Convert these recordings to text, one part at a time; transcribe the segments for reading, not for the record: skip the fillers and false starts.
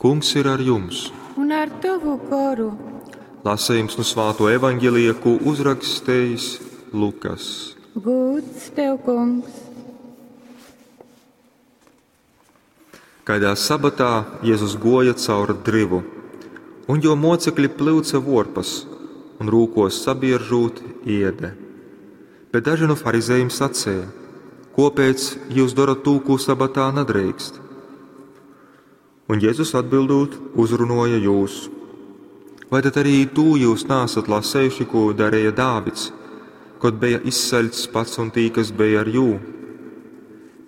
Kungs ir ar jums! Un ar tovu goru. Lasījums no Svāto evaņģelija, ko uzrakstījis Lukas. Gūds tev, kungs! Kaidā sabatā Jēzus goja caur drivu, un jo mocekļi plyuca vorpas un rūkos sabiežūt iede. Bet daži no farizējiem sacēja: Kopēc jūs darat tū, ko sabatā nedrīkst? Un Jēzus atbildot, uzrunoja jūs: Vai tad arī tū jūs nāsat lasējuši, ko darīja Dāvids, kad bija izsaļts pats un tī, kas bija ar jū?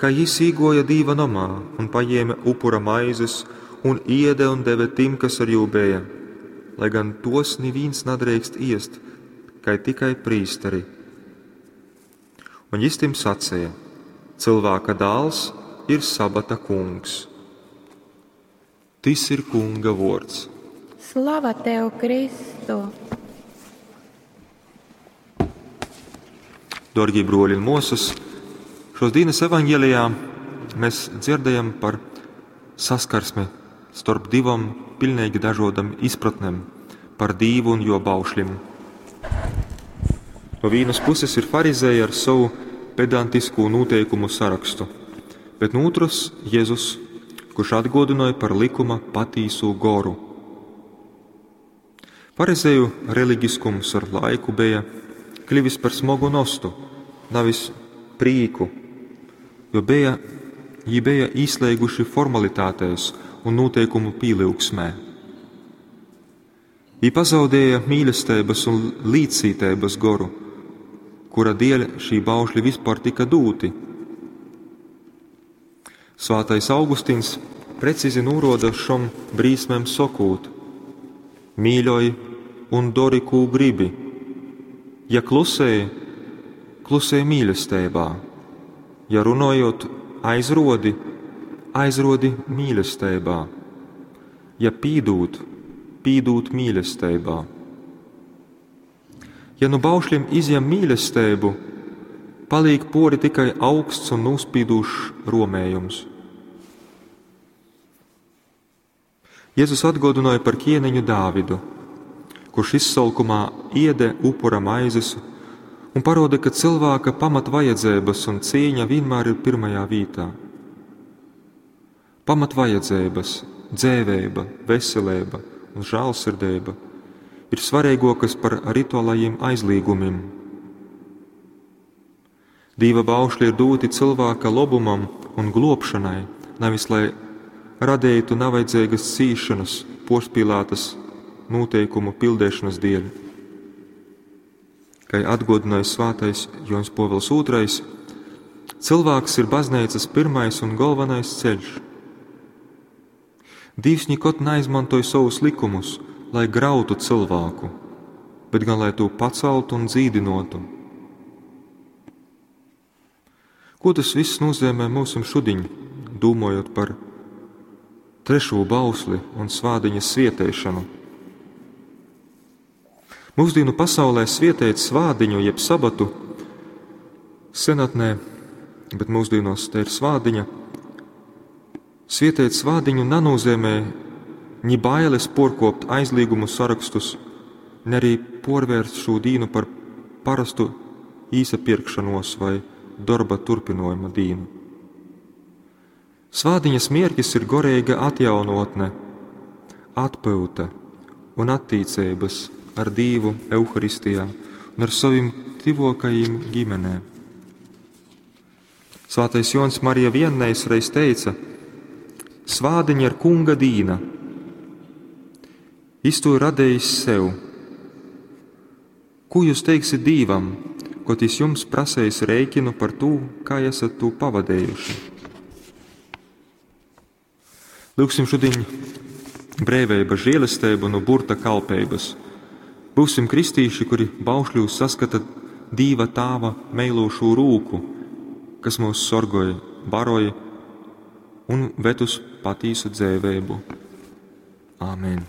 Kā jis īgoja Dīva namā un paņēma upura maizes un iede un deve tim, kas ar jū bija, lai gan tos neviens nedrīkst iest, kai tikai prīsteri. Un jis tim sacīja: Cilvēka dāls ir sabata kungs. Tis ir kunga vords. Slava tev, Kristu! Dārgie broļi un mosas, šos dienas evaņģēlijā mēs dzirdējam par saskarsmi starp divam pilnīgi dažādam izpratnēm par Dīvu un jo baušļim. No vienas puses ir farizēji ar savu pedantisko noteikumu sarakstu, bet no otras Jēzus, kurš atgodināja par likuma patīso goru. Farizēju reliģiskums ar laiku bija kļuvis par smagu nostu, nevis prīku, jo bija, jī bija īslēguši formalitātēs un noteikumu pīlyugsmē. Jī pazaudēja mīlestības un līdzcītības goru, kura dēļ šī baušļi vispār tika dūti. Svātais Augustins precīzi noroda šom brīsmēm sokūt: Mīļoj un dori, kū gribi. Ja klusēji, klusēji mīlestībā. Ja runājot aizrodi, aizrodi mīlestībā. Ja pīdūt, pīdūt mīlestībā. Ja nu baušļiem izņem mīlestību, paliek pori tikai augsts un nospīdūšs romējums. Jēzus atgodināja par ķieniņu Dāvidu, kurš izsalkumā iede upura maizes un paroda, ka cilvēka pamatvajadzības un cīņa vienmēr ir pirmajā vietā. Pamatvajadzības, dzēvēba, veselība un žēlsirdība ir svarīgākas par rituālajiem aizliegumiem. Dīva baušļi ir doti cilvēka lobumam un globšanai, nevis lai radītu nevajadzīgas cīšanas, porspīlētas noteikumu pildīšanas dēļ. Kā atgodināja svātais Jons Povils II, cilvēks ir baznīcas pirmais un galvenais ceļš. Dievs nekad neizmantoja savus likumus, lai grautu cilvēku, bet gan lai to paceltu un dzīdinotu. Ko tas viss nozīmē mums šodien, domājot par trešo bausli un svādiņas svietēšanu? Mūsdienu pasaulē svietēt svādiņu jeb sabatu senatnē, bet mūsdienos te ir svādiņa. Svietēt svādiņu nenozīmē ni bailes porkopt aizliegumu sarakstus, ne arī porvērst šo dīnu par parastu īsapirkšanos vai darba turpinojuma dīnu. Svādiņas mierkis ir gorīga atjaunotne, atpūta un attīcības ar Dievu Euharistijā un ar saviem tuvākajiem ģimenē. Svētais Jons Marija Viennejs reiz teica: Svādiņa ir kunga dīna. Jis to radījis sev. Ko jūs teiksiet Dīvam, ko jis jums prasējis rēķinu par to, kā esat to pavadējuši? Lūksim šodien brēvēba žēlestību no burta kalpības. Būsim kristīši, kuri baušļūs saskata Dīva tāva meilošo rūku, kas mūs sorgoja, baroja un ved uz patīsu dzēvēbu. Āmen!